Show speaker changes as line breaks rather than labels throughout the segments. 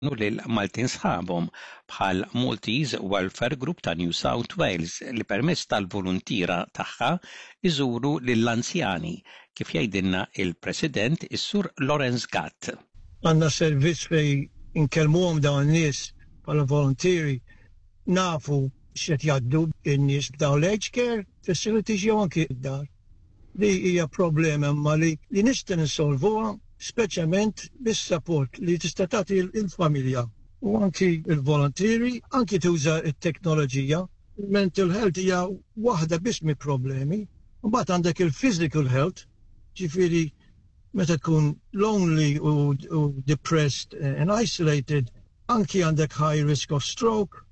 lil Maltin sħabhom bħal Maltese Welfare Group ta' New South Wales li permezz tal-voluntiera tagħha jżuru lill-anzjani, kif jgħidilna il-President is-Sur Lawrence Gatt.
Għandna servizz fejn inkellmuhom dawn in-nies bħala voluntieri, nafu x'qed jgħaddu n-nies b'dawn l-aged care facilities jew anki d-dar. Li hija problema imma li li nista' ninsolvuha speċjalment bis-support li tista' tagħti l-familja u anki l-voluntieri, anki tuża t-teknoloġija. Il-mental health hija waħda biss mill-problemi. Mbagħad għandek il-physical health, ġifieri meta tkun lonely u, u depressed and isolated, anki għandek high risk of stroke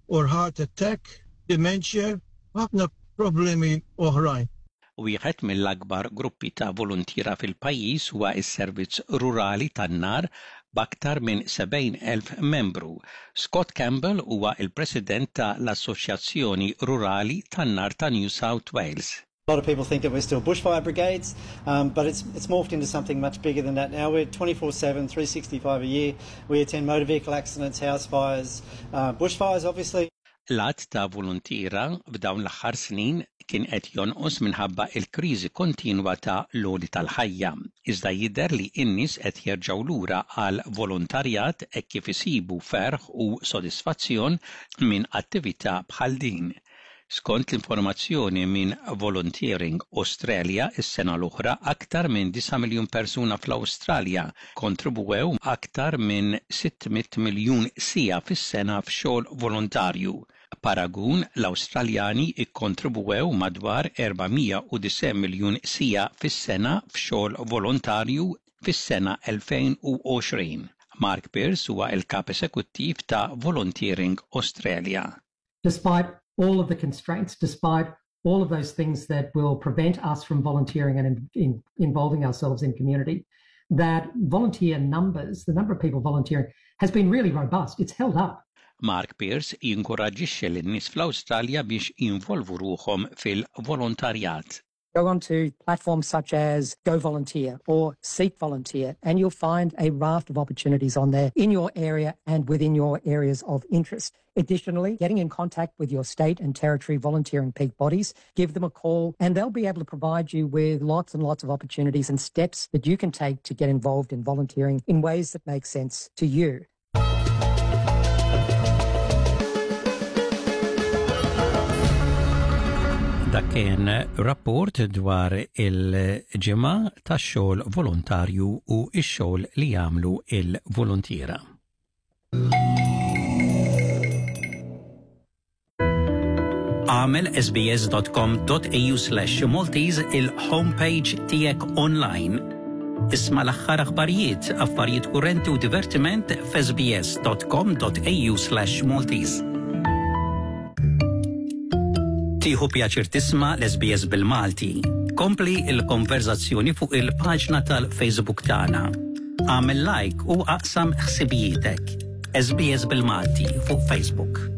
or heart attack, dementia, ħafna problemi oħrajn.
Wieħed mill-akbar gruppi ta' voluntiera fil-pajjiż huwa s-Servizz Rurali tan-Nar b'aktar minn 70,000 membru. Scott Campbell huwa l-President ta' l-Assoċjazzjoni Rurali tan-Nar ta' New South Wales.
A lot of people think that we're still bushfire brigades, um, but it's, it's morphed into something much bigger than that now. We're 24 7, 365 a year. We attend motor vehicle accidents, house fires, uh, bushfires, obviously.
L-għadd ta' voluntiera f'dawn l-aħħar snin kien qed jonqos minħabba l-kriżi kontinwa ta' l-għoli tal-ħajja. Iżda jidher li n-nies qed jerġgħu lura għall-volontarjat hekk kif isibu ferħ u sodisfazzjon minn attività bħal din. Skont l-informazzjoni minn Volunteering Australia, is-sena l-oħra aktar minn 9 miljun persuna fl-Awstralja kkontribwew aktar minn 600 miljun siegħa fis-sena f'xogħol volontarju. B'paragun, l-Awstraljani kkontribwew madwar 490 miljun siegħa fis-sena f'xogħol volontarju fis-sena 2020. Mark Pearce huwa l-Kap Esekuttiv ta' Volunteering Australia.
Despite all of the constraints, despite all of those things that will prevent us from volunteering and in, in involving ourselves in community, that volunteer numbers, the number of people volunteering, has been really robust. It's held up.
Mark Pearce jinkoraġġixxi lin-nies fl-Awstralja biex jinvolvu ruħhom fil-volontarjat.
Go onto platforms such as Go Volunteer or Seek Volunteer, and you'll find a raft of opportunities on there in your area and within your areas of interest. Additionally, getting in contact with your state and territory volunteering peak bodies, give them a call, and they'll be able to provide you with lots and lots of opportunities and steps that you can take to get involved in volunteering in ways that make sense to you.
Dak kien rapport dwar il-ġimgħa tax-xogħol volontarju u x-xogħol li jagħmlu il-voluntiera. Agħmel sbs.com.au/maltese il-homepage tiegħek online. Isma' l-aħħar aħbarijiet, affarijiet kurrenti u divertiment f'sbs.com.au/maltese. Tieħu pjaċir tisma' l-SBS bil-Malti. Kompli l-konverzazzjoni fuq il-paġna tal-Facebook tagħna. Agħmel like u aqsam ħsibijietek. SBS bil-Malti fuq Facebook.